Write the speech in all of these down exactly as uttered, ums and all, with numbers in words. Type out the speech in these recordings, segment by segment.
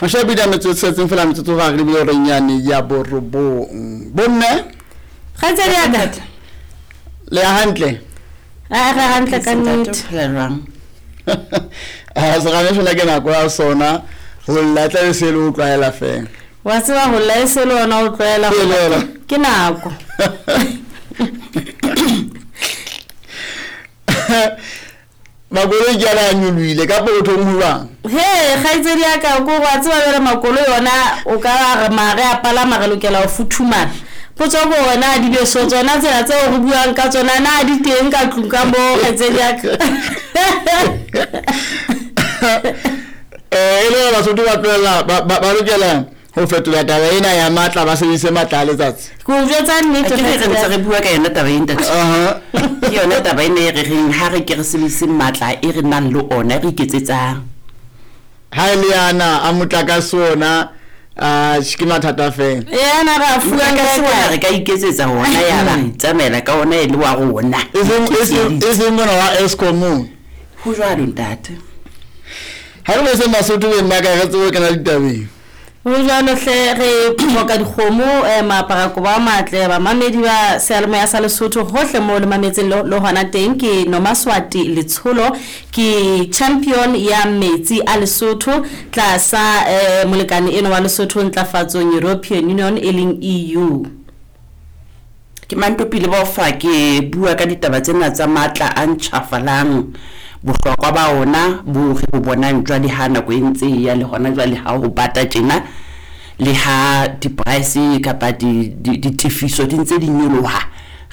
Mashabidi a metsotso setseng fela metsotso ga re lebile horeng yane ya borobong. Bomme Kgaitsedi ya ka. Le ya hantle? A re hantle ka nnete. Phela jwang? A serame fela ke nako ya sona ho lla tla be se le o tlwaela fela. Wa tseba ho lla e se le ona o tlwaela. Ke le yona. Ke nako. Makoloi ke ana a nyolohile ka pokothong ho jwang? He kgaitsedi ya ka ko wa tseba jwale makoloi ona o ka re mare a palama re lokela ho futhumala. Potso ko hore na dibeso tsona tsena tseo re buang ka tsona na di teng ka tlung ka moo kgaitsedi ya ka? Eh e le hore Basotho ba tlohella ba ba lokela ho fetola taba ena ya matla ba sebedise matla a letsatsi. Ke o jwetsa nnete. Ke re ntse re bua ka yona taba e ntate. Aha. Ke yona taba ena e re reng ha re ke re sebedise matla e re nang le ona re iketsetsang. Ha e le ana a motlakase ona a ke mathata fela. Ena re a fuwang Motlakase ka ona re ka iketsetsa ona ya ba re itsamaela ka ona e le wa rona. E seng e seng e seng mona wa Eskom. Ho jwalo ntate. Ha re bese Basotho be nna ka re tsebe kena ditabeng. Ho jwalo hle re hloka dikgomo eh, maaparako ba matle bamamedi ba seyalemoya sa Lesotho hohle moo le mametseng le le hona teng. Ke Nomaswati Letsholo, ke champion ya metsi a Lesotho tlasa eh, molekane eno wa Lesotho ntlafatsong European Union e leng E U. Ke Mantopile Bofa ke bua ka ditaba tsena tsa matla a ntjhafalang, bohlokwa ba ona bo re bo bonang jwale ha nako e ntse e ya le hona jwale ha ho bata tjena le ha di-price kapa ditefiso di ntse di nyoloha,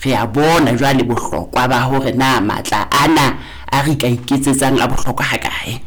re a bona jwale bohlokwa ba hore na matla ana a re ka iketsetsang a bohlokwa hakae.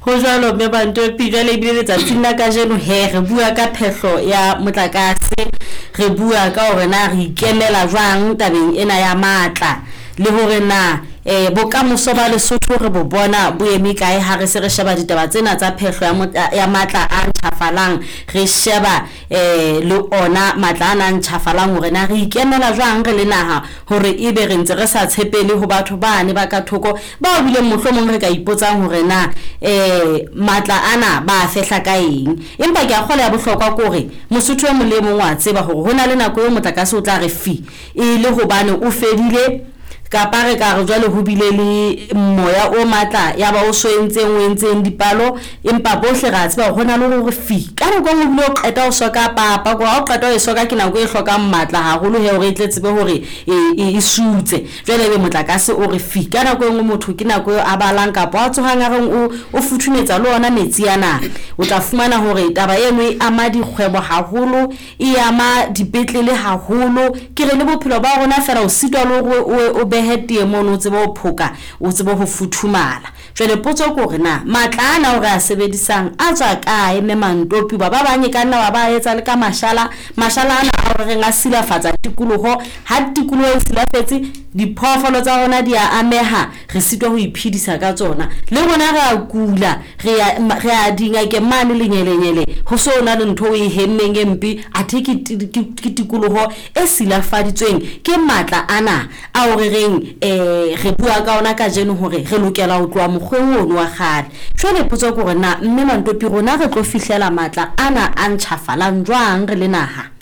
Ho jwalo mme Bantopi, jwale ebile letsatsing la kajeno he re bua ka phehlo ya motlakase, re bua ka hore na re ikemela jwang tabeng ena ya matla le hore na eh bokamoso ba Lesotho re bo bona bo eme kae ha re se re sheba ditaba tsena tsa phehlo ya ya matla a ntjhafalang, re sheba eh le ona matla ana a ntjhafalang hore na re ikemela jwang re le naha hore ebe re ntse re sa tshepele ho batho bane ba ka thoko bao bileng mohlomong re ka ipotsang hore na eh matla ana ba fehla ka eng. Empa ke a kgola ya bohlokwa ke hore Mosotho e mong le mong wa tseba hore hona le nako eo motlakase o tla re fi e le hobane o fedile kapa re ka re jwale ho bile le moya o matla ya ba o so entseng o entseng dipalo, empa bohle re a tseba hore hona le hore fi ka nako e nngwe o bile o qeta ho soka papa, ko ha o qeta ho e soka ke nako e hlokang matla haholo he hore e tle tsebe hore e e sutse. Jwale ebe motlakase o re fi ka nako e nngwe motho ke nako eo a balang kapa a tsohang a reng o o futhumetsa le ona metsi ana, o tla fumana hore taba eno e ama dikgwebo haholo, e ama dipetlele haholo, ke re le bophelo ba rona fela o sitwa le hore o behe tee mono o tsebe ho phoka, o tsebe ho futhumala. Jwale potso ke hore na matla ana o re a sebedisang a tswa kae mme Mantopi ba ba bang e ka nna wa ba etsa le ka mashala, mashala ana a hore reng a silafatsa tikoloho, ha tikoloho e silafetse diphoofolo tsa rona di a ameha, re sitwa ho iphedisa ka tsona, le rona re a kula, re a re a dingakeng mane lenyelenyele ho so na le ntho o e hemmeng e mpe, athe ke ke tikoloho e silafaditsweng ke matla ana a hore reng eh re bua ka ona kajeno hore re lokela ho tloha mokgweng ono wa kgale. Jwale potso ke hore na mme Mantopi rona re tlo fihlela matla ana a ntjhafalang jwang re le naha?